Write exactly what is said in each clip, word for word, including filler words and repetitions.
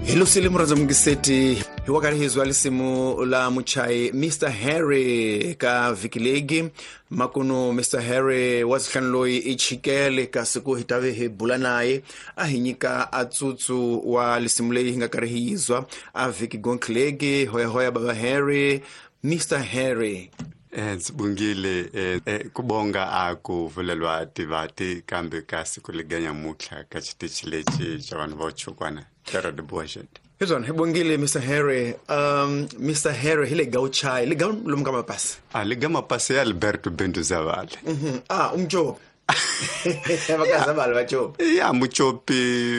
Hilusile muraza mungiseti hiwakari hizwa lisimu la muchai Mister Harry ka vikilegi makuno Mister Harry wazihlanloi ichikele kasi ku hitave hi bula naye a hi nyika atsutsu wa lisimu leyi hi nga karhi hi yizwa a vhiki gonklegi hoya hoya baba Harry Mister Harry. Ndzi eh kubonga aku vulelwa tivati kambe kasi kuliganya mutlha ka xitichi lexi xa vanhu vo chukwana Terra de Boishet. Hizona hibongile Mister Harry. Um Mister Harry hi le gauchai le gau lomu ka mapasi. Ah le ga mapasi ya Alberto Bento Zavale. Mhm. Ah umjob. Vakazavale vachopi. Ya muchopi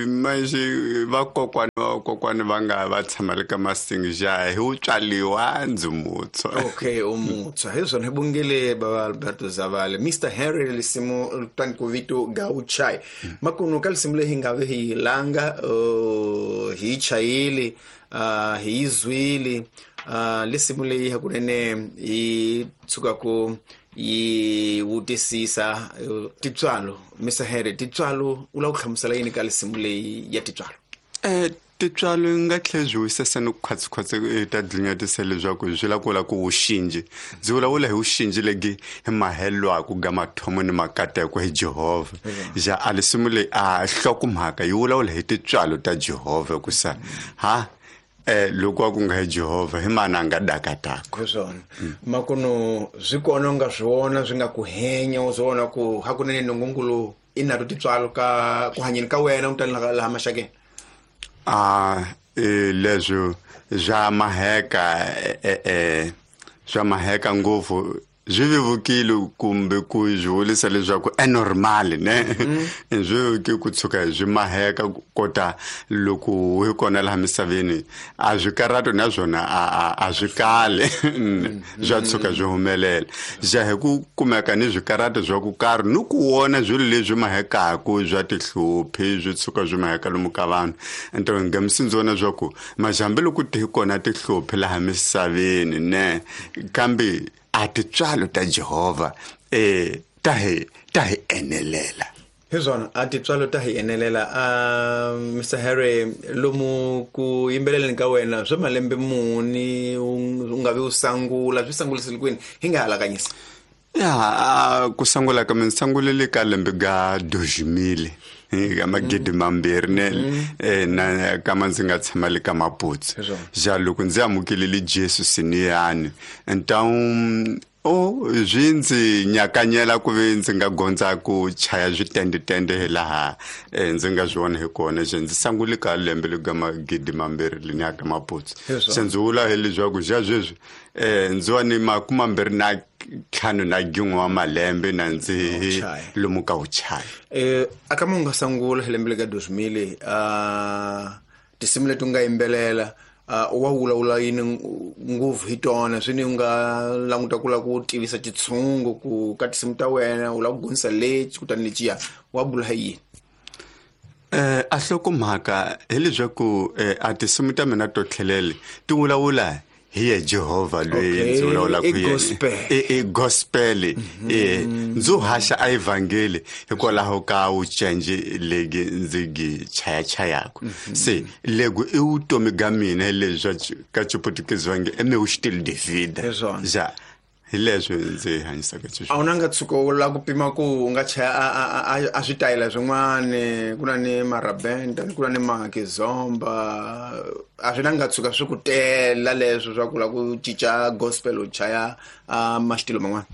manje vakokwana vakokwana va nga va tshama le ka masingi ja hi u tswaliwa ndzi mutswa. Okay umutswa. Hizona hibongile baba Alberto Zavale. Mister Harry lisimu tankuvitu gauchai. Makunu ka lisimu leyi hi nga ve hi langa uh, hi chayile uh, hi zwile uh, lisimu leyi hakunene hi tshuka ku yi wutisisa titswalo Mister Harry titswalo u la ku hlamusela yini ka lisimu leyi ya titswalo? Eh titswalo nga tlhela byi wisesa ni ku khwatsikhwatsi ta dlinyatisa leswaku swi la ku la ku wuxinji ndzi vulavula hi wuxinji legi hi mahelwaku ga mathomo ni makateko hi Jehovha ja a lisimu leyi a hlokomhaka yi vulavula hi titswalo ta Jehovha ku sa ha eh loko ku nga hi Jehovha hi mana nga dakatako swona makuno swi kona nga swona swi nga ku henya u swona ku hakunene nongongolo i na to titswalo ka ku hanyeni ka wena u tani laha maxakeni. Ah eh leswo swa maheka eh eh swa maheka ngopfu swi vevukile kumbe ku swi vulisa leswaku e normal ne swi vevukile ku tshuka swi maheka kota loko hi kona laha misaveni a swi karhato na swona a a swi kali swa tshuka swi humelela ja hi ku kumeka ni swikarhato swa ku karhi ni ku vona swilo leswi mahekaku swa tihluphi swi tshuka swi maheka lomu ka vanhu nto nga msindzi vona swa ku majambe loko ti hi kona tihluphi laha misaveni ne kambe a titswalo ta Jehovha eh ta hi ta hi enelela. Hizona a titswalo ta hi enelela. Uh, Mister Harry lomu ku yimbeleleni ka wena swa malembe muni u nga vi u sangula swi sangulisile kwini hi nga halakanyisa? Ya ku sangula ka mina sangulele ka lembe ga deux mille ka magidi mambirhi ne eh na kama ndzi nga tshama le ka Maputsu ja loko ndzi amukelele Jesu siniyani então o swi ndzi nyakanyela ku ve ndzi nga gondza ku chaya switendetende hi laha ndzi nga swi vona hi kona je ndzi sangule ka lembe le ka magidi mambirhi le ka Maputsu se ndzi vula hi leswaku ja sweswi eh ndzi wa ni makume mambirhi na ntlhanu na gin'we wa malembe na ndzi lomu ka wuchaya. Eh aka mu nga sangula hi lembe le ka deux mille uh tinsimu leti u nga yimbelela uh wa vulavula yini ngopfu hi tona swi ni u nga languta ku la ku tivisa xitshungu ku ka tinsimu ta wena u la ku gonisa lexi kutani lexiya wa bula hi yini? Eh a hlokomhaka hi leswaku a tinsimu ta mina to tlhelele ti vulavula hi ye Jehovha loyi ndzi vulavulaka hi yena i gospel eh ndzi haxa a evangeli hikwalaho ka wucenji legi ndzi gi chaya chayako se lego i vutomi ga mina leswi ka xiputukezi va nge e meu style de vida ja hi leswi ndzi hanyisaka xiswona. A wu na nga tshuka u la ku pima ku u nga chaya a a switayela swin'wana ku na ni marabenta ku na ni makizomba a swi na nga tshuka swi ku tela leswo swa ku la ku cinca gospel u chaya a maxitilo man'wana?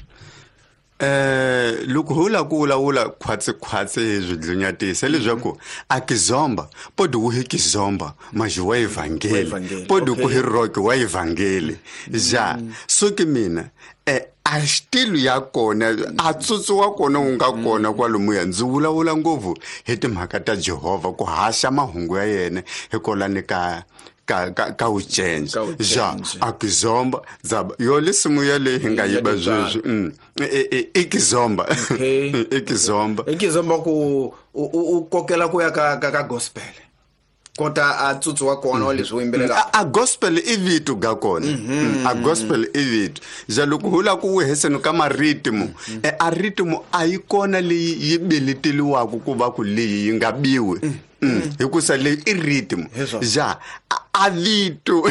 Eh loko ho la ku vulavula khwatsi khwatsi hi swidlunyatisa leswaku a kizomba podi wu hi kizomba maji wa evangeli podi ku hi rock wa evangeli ja so ke mina eh a xitilo ya kona a tsutsu wa kona wu nga kona kwalomuya ndzi vulavula ngopfu hi timhaka ta Jehovha ku haxa mahungu ya yena hikwalani ka ka ka ka wucenje ja a kizomba zaba yo lisimu ya leyi hi nga yiba sweswi mm i kizomba i kizomba i kizomba ku u kokela ku ya ka ka gospel kota a tsutsu wa kona wa leswi u yimbelelaka a gospel i vito ga kona a gospel i vito ja loko ho la ku weheseni ka maritimo a ritmo a yi kona leyi yi beleteliwaka ku va ku leyi yi nga biwi Hikusa leyi i rhythm ja a vito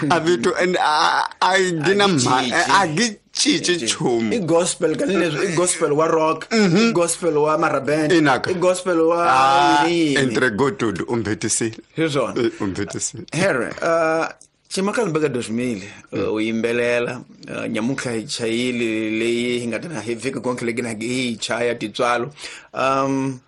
a vito and a gina a gi cinci nchumu i gospel ka leswi i gospel wa rock i gospel wa maraband i gospel wa yini entregou tudo umbhetisile hi swona umbhetisile Harry uh Chimakalmbeka dois mil u yimbelela nyamuntlha hi chayile leyi hi nga ta hi vhiki konke leyi na hi chaya titswalo um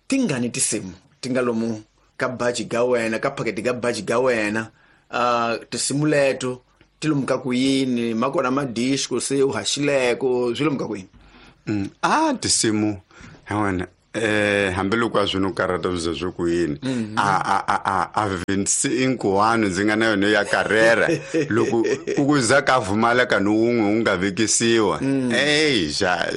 tingani tinsimu ti nga lomu ka baji ga wena ka phaketi ga baji ga wena uh tinsimu leto ti lomu ka ku yini makona madisco se u haxileko swi lomu ka ku yini a tinsimu ha wena eh hambiloko a swi no karata swi swi ku yini a a a a a vintshinkwana ndzi nga na yona ya karera loko ku ku za ka vumaleka no wun'we wu nga vekisiwa ey ja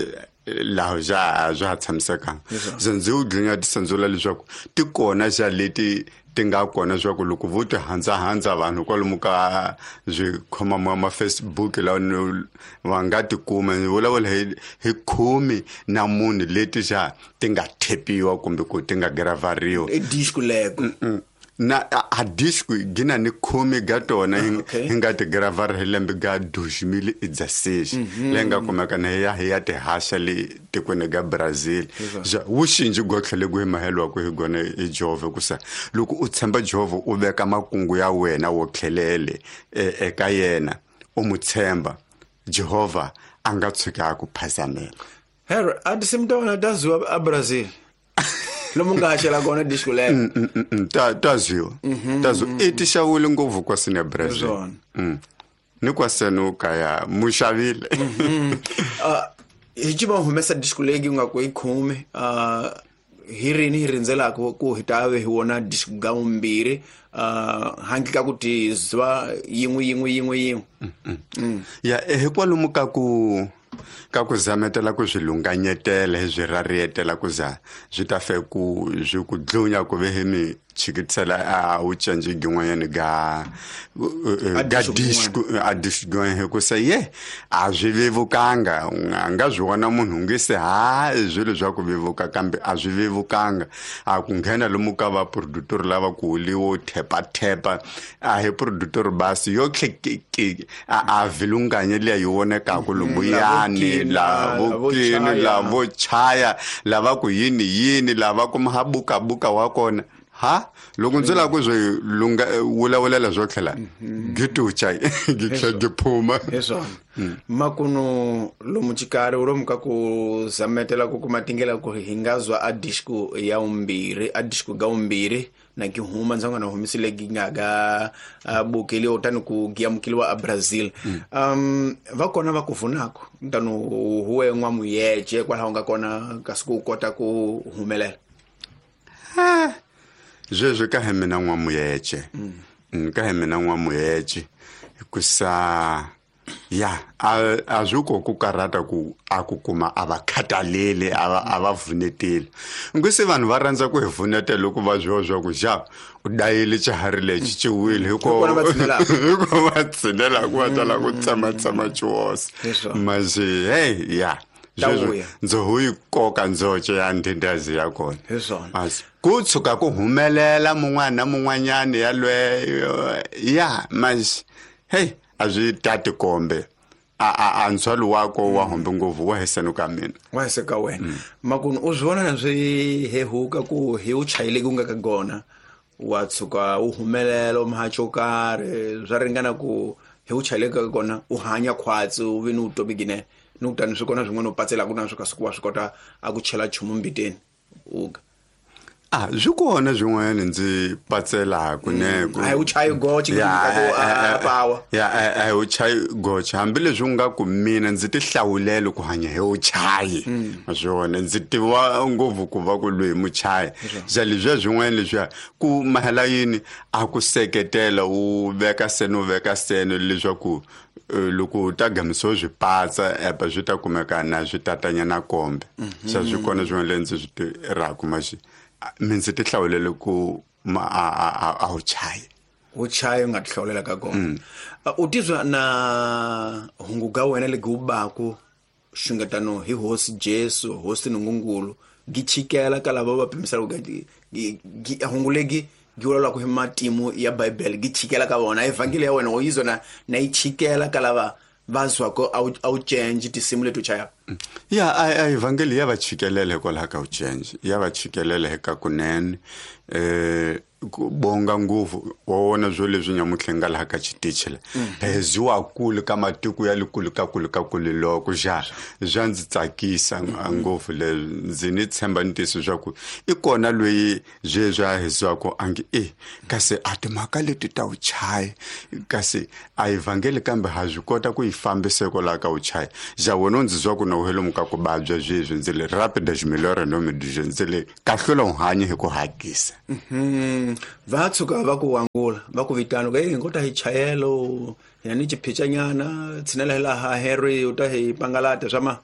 laha ja swa ha tshamisekanga se ndzi wu dlinya tisandzula leswaku ti kona xa leti ti nga kona swa ku loko vo ti handzahandza vanhu kwalomu ka swikhoma ma Facebook lawa va nga tikuma ni vulavula hi hi khume na munhu leti xa ti nga thepiwa kumbe ku ti nga gravariwa i disco leko na a disco gina ni khume ga tona hi nga ti gravar hi lembe ga dois mil e dezesseis leyi nga kumeka na ya hi ya tihaxa le tikweni ga Brazil ja wu xinji gotlhe le ku hi mahelwaku hi gona hi Jehovha kusa loko u tshemba Jehovha u veka makungu ya wena wo tlhelele eka yena u mu tshemba Jehovha a nga tshuka a ku phazamela. Harry a tinsimu ta wena ta ziwa a Brazil lomu nga haxela kona disco lero ta ta ziwa ta ziwa i ti xawile ngopfu kwasini ya Brazil ni kwasenu kaya mu xavile hi civa humesa disco leyi nga ku yi khume hi rini hi rindzelaka ku hi ta ve hi wona disco ga vumbirhi handle ka ku ti ziva yin'we yin'we yin'we yin'we ya hikwalomu ka ku ka ku zametela ku swi lunganyetela hi swi rarietela ku za swi ta fe ku swi ku dlunya ku ve hi mi chikitisela a wu cinci gin'wanyana ga ga disco a disco hi ku se ye a swi vevukanga a nga swi vona munhu nge se ha swilo swa ku vevuka kambe a swi vevukanga a ku nghena lomu ka va produtor lava ku liwo thepa thepa a hi produtor basi yo tlhe a a vilunganye liya yi vonekaku lombuyani lavo kini lavo chaya lava ku yini yini lava ku mahabukabuka wa kona ha loko ndzi lava ku swi lunga vulavulela swo tlhela gitucha gi tlhela gi phuma hi swona makunu lomu xikarhi lomu ka ku zametela ku kuma tingela ku hi nga zwa a disco ya vumbirhi a disco ga vumbirhi na ki huma ndzi nga na humisile gi nga ga bukeliwa tani ku giyamukeliwa a Brazil um va kona va ku vunako tani huwe n'wamuyece kwalaho nga kona kasi ku kota ku humelela ha sweswi ka hi mina n'wamuyece ka hi mina n'wamuyece hikusa ya a a swi ko ku karhata ku a ku kuma a va khataleli a va a va vuneteli ngwese vanhu va rhandza ku hi vunetela loko va zwiwa swa ku xa u dayile xiharhi lexi xi wile hikuva va tshinela ku va tala ku tsematsema xihosa masi hey ya sweswi ndzi hu yi koka ndzoce ya ndhindazi ya kona ku tshuka ku humelela mun'wana na mun'wanyana yalweyo ya masi hey a swi tati kombe a a a ndzhwalo wako wa hombe ngopfu wa heseno ka mina wa hese ka wena makunu u swi vona na swi hehuka ku hi u chayile ku nga ka gona wa tshuka u humelela u mahacho karhi swa ringana ku hi u chayile ka kona u hanya khwatsi u ve ni vutomi ginene ni ku tani swi kona swin'wana u patselaka na swo kasi ku wa swi kota a ku chela nchumu mbiteni uka a swi kona swin'wana ndzi patselaka ne a hi u chayi goche power ya a hi u chayi goche hambileswi u nga ku mina ndzi ti hlawulele ku hanya hi u chayi swona ndzi tiva ngopfu ku va ku loyi muchayi ja leswiya swin'wana leswiya ku mahela yini a ku seketela u veka seno u veka seno leswaku loko u ta gamisiwa swi patsa epa swi ta kumeka na swi tatanyana kombe se swi kona swin'wana leswi ndzi swi tirhaka maxi mi ndzi ti hlawulele ku ma a a a u chayi u chayi u nga ti hlawulela ka kona u tizwa na hungu ga wena legi wu baku xungetano hi hosi Jesu hosi Nungungulu gi chikela ka lava va pimisela ku gi hungulegi gi vulavula ku hi matimu ya Bibele gi chikela ka vona evhangeli ya wena o yizo na na yi chikela ka lava va zwako a wu change tinsimu leti u chayaka. Ya a evhangeli ya va chikelela hikwalaho ka u change ya va chikelela eka kunene eh ku bonga ngopfu wa wona swo leswi nyamutlha nga laha ka xitichi la heziwa kule ka matiko ya le kule ka kule ka kule loko ja swa ndzi tsakisa ngopfu leswi ndzi ni tshemba ntiyiso swa ku i kona loyi sweswi a heziwaka a nge e kasi a timhaka leti ta u chaya kasi a evhangeli kambe ha swi kota ku yi fambisa hikwalaho ka u chaya ja wena u ndzi zwa ku na u helomu ka ku vabya sweswi ndzi le rapida ximilora no midije ndzi le kahlula u hanya hi ku hakisa. Va tshuka va ku angula va ku vitana ku hey ngota hi chayelo hina ni chiphicanyana tshinela hi laha Harry u ta hi pangalata swa ma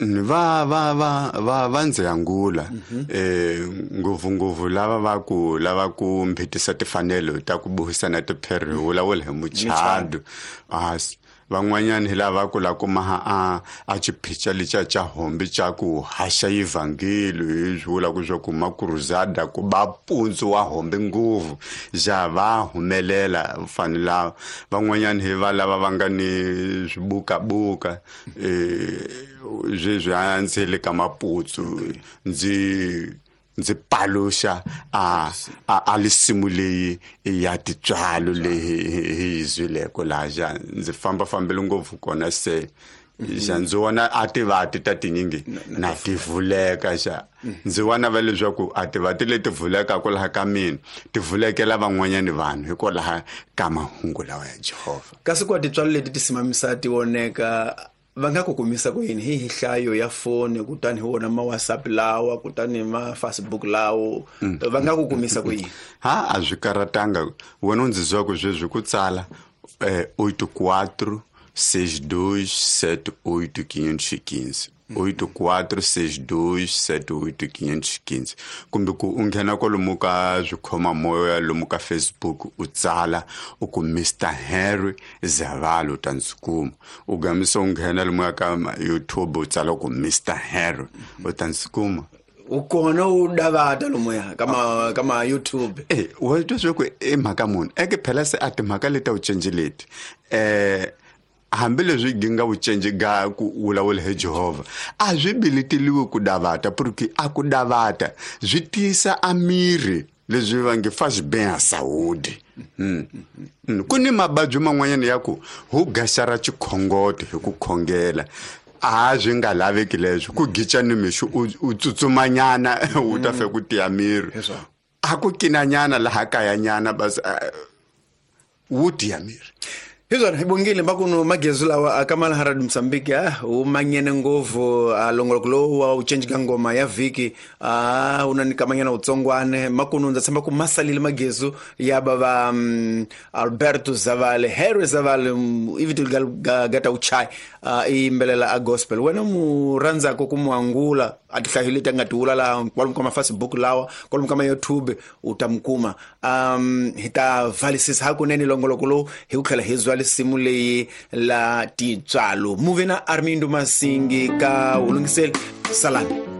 va va va va va ndzi angula eh ngopfu ngopfu lava va ku lava ku mbhitisa tifanelo ta ku buhisana tipheri vulavula hi muchado a van'wanyana hi lava ku la kuma a a xiphica lexa xa hombi xa ku haxa evhangeli hi swi vula ku swa ku makuruzada ku ba mpundzu wa hombi ngopfu ja va humelela fani lava van'wanyana hi va lava va nga ni swibukabuka eh sweswi a ndzi le ka maputsu ndzi ndzi paluxa a a lisimu leyi ya titswalo leyi hi zwileko laha ja ndzi fambafambile ngopfu kona se ja ndzi vona a tivati ta tinyingi na ti vuleka xa ndzi vona va leswaku a tivati leti vulekaka laha ka mina ti vulekela van'wanyani vanhu hikwalaho ka mahungu lawa ya Jehovha. Kasi ku titswalo leti ti simamisa ti voneka va nga ku kumisa ku yini hi nhlayo ya foni kutani hi wona ma WhatsApp lawa kutani ma Facebook lawo va nga ku kumisa ku yini? Ha a swi karatanga wena u ndzi zwa ku sweswi ku tsala eh oito quatro seis dois sete oito quinhentos e quinze oito quatro seis dois sete oito quinhentos e quinze kumbe ku u nghena kwalomu ka swikhomamoya lomu ka Facebook u tsala u ku Mister Harry Zavalo u ta ndzi kuma u gamisa u nghena lomu ka YouTube u tsala ku Mister Harry u ta ndzi kuma. U kona u davata lomuya kama kama YouTube eh wa twa swa ku i mhaka munhu eke phela se a timhaka leti u cinci leti eh hambileswi gi nga vucenji ga ku vulavula hi Jehovha a swi bileteliwe ku davata porque a ku davata swi tiyisa a miri leswi va nge faz bem a saúde. Ku ni mavabyi man'wanyana ya ku hu gaxara xikhongoto hi ku khongela a swi nga laveki leswi ku gica ni mixo u tsutsumanyana u ta fe ku tiya miri a ku kinanyana laha kayanyana bas wu tiya miri. Hizona hibongile makuno magezu lawa akamala harad Msambiki ah umanyene ngovu alongoloko lo wa uchenji ngoma ya viki ah unanikamanyana utsongwane makuno ndza tshemba ku masalile magezu ya baba um, Alberto Zavale Harry Zavale um, ivitu gata uchai uh, imbelela a gospel wena mu randzako kumuangula atihlahile tanga la kwalomu ka Facebook lawa kwalomu ka YouTube utamkuma um hita valisisa hakunene longoloko lo hi ku tlhela hi zwa lisimu leyi la titswalo muve na Armindo Masingi ka ulungiseli salani.